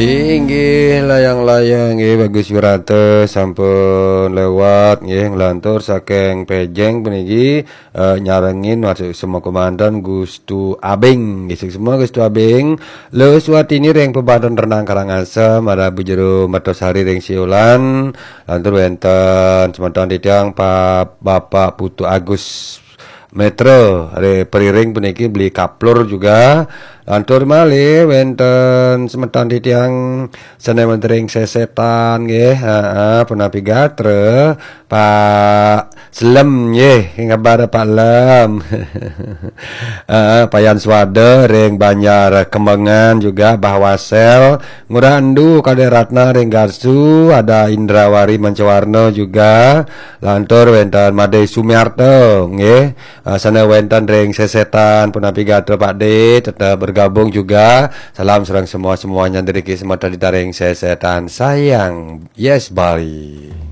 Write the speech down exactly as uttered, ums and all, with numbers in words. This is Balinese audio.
Inggih, layang-layang nggih, Bagus Wirata sampun lewat nggih, nglantur saking Pejeng puniki, eh, nyarengin masuk semua komandan Gustu Abing nggih, semua Gustu Abing. Lus Watini ring Pebanten Renang Karangasem, ada Bu Jero Mertosari ring Siolan, lantur wenten semeton titiang Pak Bapak Putu Agus Metra, ring Periring puniki beli kaplur juga. Lantur malih wenten semeton titiang sane wenten ring Sesetan nggih, heeh, punapi gatra, Pak Selem nggih, ngabar Pak Lem. Heeh, Payan Swada ring Banjar Kembengan juga, Bah Wasel, Ngurah Endu, Kadek Ratna ring Garsu, ada Indrawari Mancawarna juga, lantur wenten Made Sumiarto nggih. Ah, sane wenten ring Sesetan, punapi gatra Pak De, tetap bergabung juga. Salam sareng semua-semuanya dari semeton titiang ring Sesetan. Sayang, yes Bali.